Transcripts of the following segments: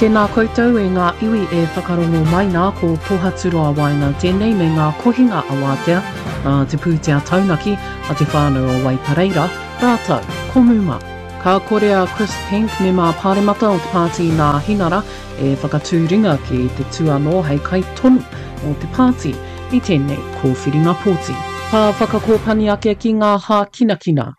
Tēnā koutou e ngā iwi e whakarongo mai nā, ko Pohaturoa Waenga tēnei me ngā kohinga awātea nā te pūtea taunaki a te whānau o Waipareira rātou ko Muma. Ka kore a Chris Penk, mema pāremata o te Pāti Nāhinara, e whakatū ringa ki te tū anō hei kaitono mō te pāti i tēnei kōwhiringa pōti. Ka whakakōpani ake ki ngā hākinakina.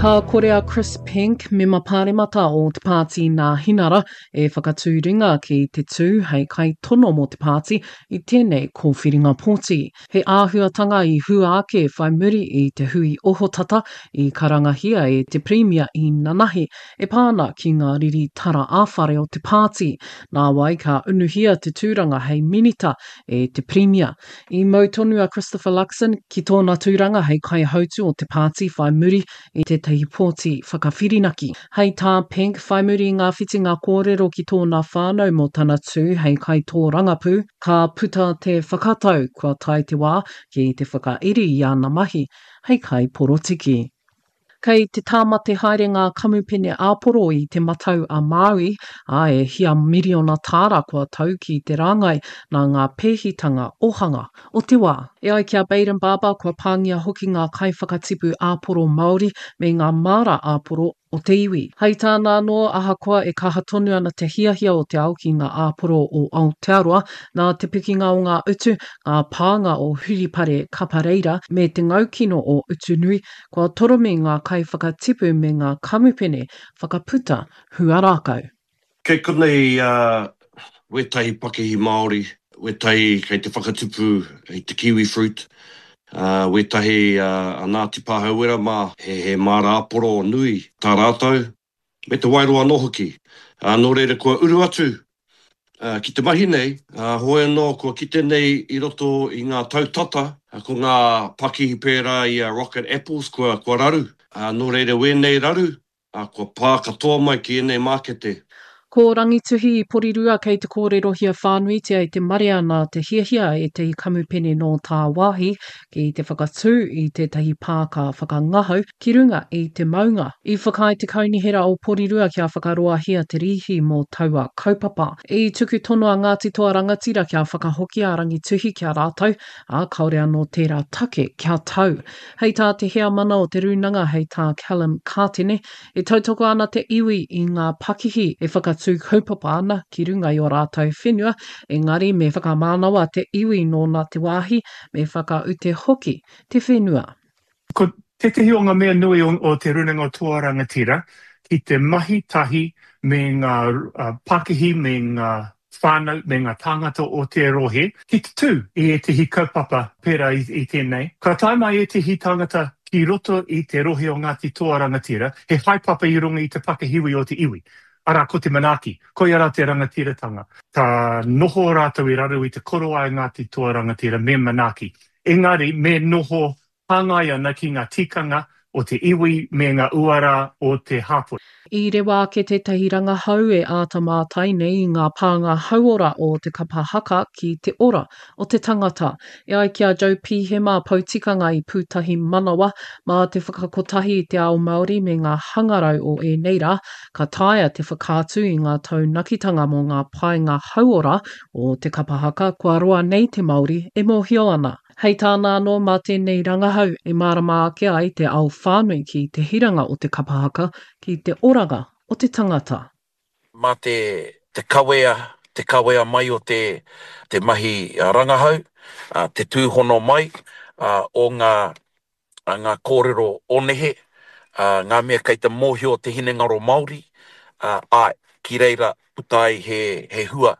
Ka kore a Chris Penk, mema pāremata o te Pāti Nāhinara, e whakatū ringa ki te tū hei kaitono mō te pāti i tēnei kōwhiringa pōti. He āhuatanga i hua ake whai muri i te hui ohotata i karangahia e te Pirimia i nanahi e pā ana ki ngā riri tara ā-whare o te pāti. Nāwai ka unuhia te tūranga hei minita e te Pirimia. I mau tonu a Christopher Luxon ki tōna tūranga hei kaihautu o te pāti whai muri i tētahi pōti whakawhirinaki. Hei tā Penk, whai muri i ngā whitinga kōrero ki tōna whānau mō tana tū hei kaitōrangapū, ka puta te whakatau kua tae te wā ki te whakairi i ana mahi hei kaiporotiki. Kei te tāmate haere ngā kamupene āporo i Te Matau a Māui, ā, e hia miriona tāra kua tau ki te rāngai nā ngā pēhitanga ōhanga o te wā. E ai ki a Bayden Barber, kua pāngia hoki ngā kaiwhakatipu āporo Māori me ngā māra āporo o te iwi. Hei tāna anō, ahakoa e kaha tonu ana te hiahia o te ao ki ngā āporo o Aotearoa, nā te pikinga o ngā utu, ngā pānga o Huripare Kapareira me te ngaukino o Utunui, Kua toromi ngā kaiwhakatipu me ngā kamupene whakaputa huarākau. Kei konei wētahi pakihi Māori, wētahi kei te whakatupu i te kiwi fruit, wētahi a Ngāti Pāhauwera mā, he māra āporo nui tā rātou. me te waeroa anō hoki. Ā, nō reira kua uru atu ki te mahi nei, ā, hoi anō kua kite nei i roto i ngā tau tata, ko ngā pakihi pērā i a Rocket Apples kua, kua raru. Ā, nō reira wēnei raru, ā, kua pā katoa mai ki ēnei mākete. Ko Rangituhi i Porirua kei te kōrerohia whānuitia e te marea nā te hiahia a ētahi kamupene nō tāwāhi ki te whakatū i tētahi pāka whakangahau ki runga i te maunga. I whakaae te Kaunihera o Porirua kia whakaroahia te rīhi mō taua kaupapa. I tuku tono a Ngāti Toa Rangatira kia whakahokia a Rangituhi ki a rātou, ā, kāore anō tērā take kia tau. Hei tā te heamana o te rūnanga hei tā Callum Kātene, E tautoko ana te iwi i ngā pakihi e whakatū kaupapa ana ki runga i ō rātou whenua, engari me whakamānawa te iwi nōna te wāhi, me whakaute hoki te whenua. Ko tētehi o ngā mea nui o Te Rūnanga o Toa Rangatira ki te mahi tahi me ngā pakihi me ngā whānau me ngā tāngata o te rohe ki te tū i ētehi kaupapa pērā i tēnei. Ka tae mai ētehi tāngata ki roto i te rohe o Ngāti Toa Rangatira, he haepapa i runga i te pakihiwi o te iwi, arā, ko te manaaki, koia rā te rangatiratanga. Ka noho rātou i raro i te korowai Ngāti Toa Rangatira me manaaki, engari me noho hāngai ana ki ngā tikanga o te iwi me ngā uara o te hapori. I rewa ake tētahi rangahau e āta mātai nei i ngā pānga hauora o te kapa haka ki te ora o te tangata. E ai ki a Joe Pihema, poutikanga i Pūtahi Manawa, mā te whakakotahi i te ao Māori me ngā hangarau o ēnei rā, ka taea te whakaatu i ngā taunakitanga mō ngā painga hauora o te kapa haka kua roa nei te Māori e mōhio ana. Hei tāna anō, mā tēnei rangahau e mārama ake ai te ao whānui ki te hiranga o te kapa haka ki te oranga o te tangata. Mā te te kawea, te kawea mai o te te mahi rangahau, te tūhono mai o ngā ngā kōrero o nehe, ngā mea kei te mōhio te hinengaro Māori, āe, ki reira puta ai he, he hua.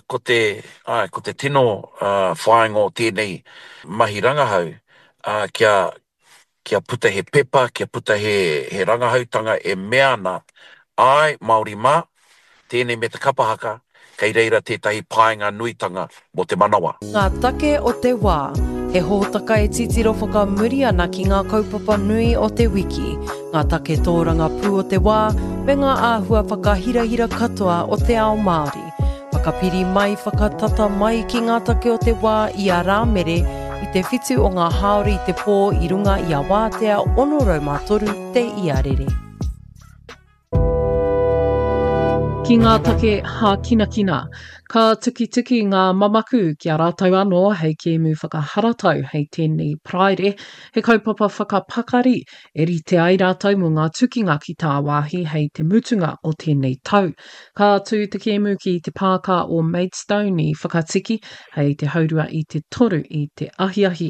Ko te, āe, ko te tino whāinga o tēnei mahi rangahau, kia, kia puta he pepa, kia puta he, he rangahautanga e mea ana, āe, Māori mā, Tēnei me te kapa haka, kei reira tētahi paenga nuitanga mō te manawa. Ngā take o te wā, he hōtaka e titiro whakamuri ana ki ngā kaupapa nui o te wiki, ngā take tōrangapū o te wā, me ngā āhua whakahirahira katoa o te ao Māori. Whakapiri mai, whakatata mai ki ngā take o te wā i a Rāmere i te whitu o ngā hāora i te pō i runga i a Wātea 603 te iarere. Ki ngā take hākinakina, ka tukituki ngā mamaku ki a rātou anō hei kēmu whakaharatau hei tēnei Paraire, he kaupapa whakapakari e rite ai rātou mō ngā tukinga ki tāwāhi hei te mutunga o tēnei tau. Ka tū te kēmu ki te pāka o Maidstone i Whakatiki hei te haurua i te toru i te ahiahi.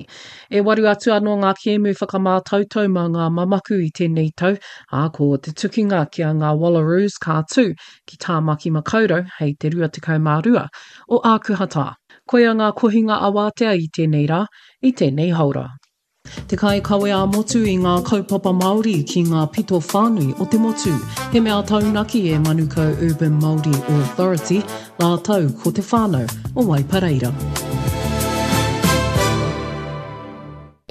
E waru atu anō ngā kēmu whakamātautau mā ngā mamaku i tēnei tau, ā, ko te tukinga ki a ngā Wallaroos ka tū ki Tāmaki Makaurau hei te 22 o Ākuhata. Koia ngā kohinga awātea i tēnei rā, i tēnei haora. Te kaikawe ā-motu i ngā kaupapa Māori ki ngā pito whānui o te motu. He mea taunaki e Manukau Urban Māori Authority rātou ko te whānau o Waipareira.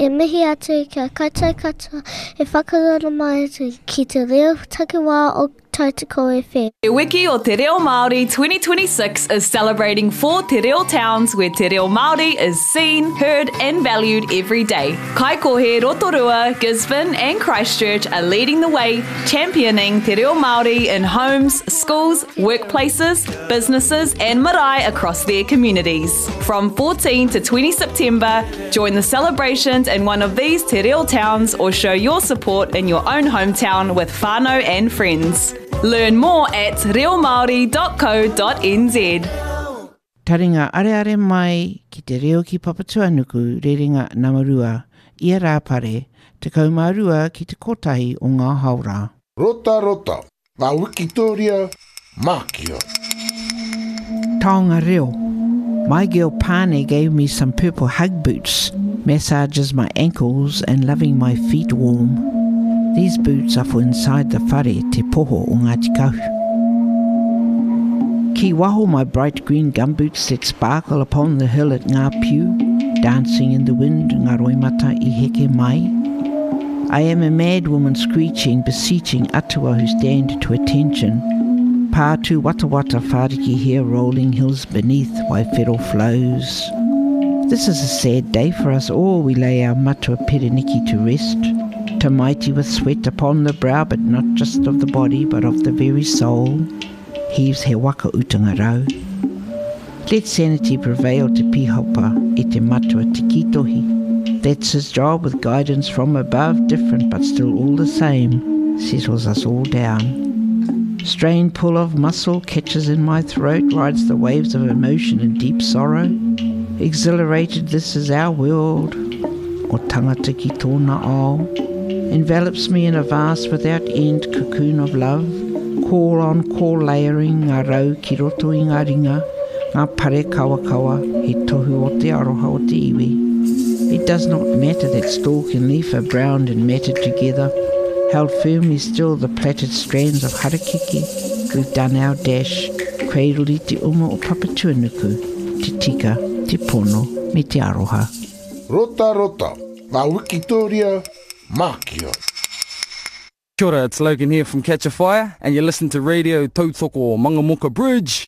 E mihi atu ki a koutou katoa e whakarara mai atu ki te reo takiwā o Tautoko FM. Te Wiki o Te Reo Māori 2026 is celebrating four Te Reo towns where Te Reo Māori is seen, heard and valued every day. Kaikohe, Rotorua, Gisborne and Christchurch are leading the way, championing Te Reo Māori in homes, schools, workplaces, businesses and marae across their communities. From 14 to 20 September, join the celebrations in one of these Te Reo towns or show your support in your own hometown with whānau and friends. Learn more at reomaori.co.nz. Taringa areare mai ki te reo ki Papatuanuku rerenga nama rua, ia Rāpare, 12 ki te kotahi o ngā haora. Rotarota, Ngā wikitōria mākia. Taonga reo. My girl Pane gave me some purple hug boots, massages my ankles and loving my feet warm. These boots are for inside the whare Te Poho o Ngāti Kahu. Ki waho my bright green gumboots that sparkle upon the hill at Ngā Piu, dancing in the wind ngā roimata i heke mai. I am a mad woman screeching, beseeching atua who stand to attention. Pātū watawata whāriki here rolling hills beneath Waiwhero flows. This is a sad day for us all, we lay our matua Pereniki to rest. Tamaiti with sweat upon the brow, but not just of the body, but of the very soul. Heaves he waka utanga rau. Let sanity prevail te pihopa e te matua te kitohi. That's his job with guidance from above, different but still all the same, settles us all down. Strained pull of muscle catches in my throat, rides the waves of emotion and deep sorrow. Exhilarated, this is our world. O tangata ki tōna ao. Envelops me in a vast without end cocoon of love. Call on call layering ngā rau ki roto i ngā ringa, ngā pare kawakawa, he tohu o te aroha o te iwi. It does not matter that stalk and leaf are browned and matted together, held firmly still the plaited strands of harakeke, we've done our dash, cradled i te uma o Papatuanuku, te tika, te pono, me te aroha. Rotarota, ngā wikitōria mākia. Kia ora, it's Logan here from Catch a Fire and you listen to Radio Tautoko Mangamuka Bridge.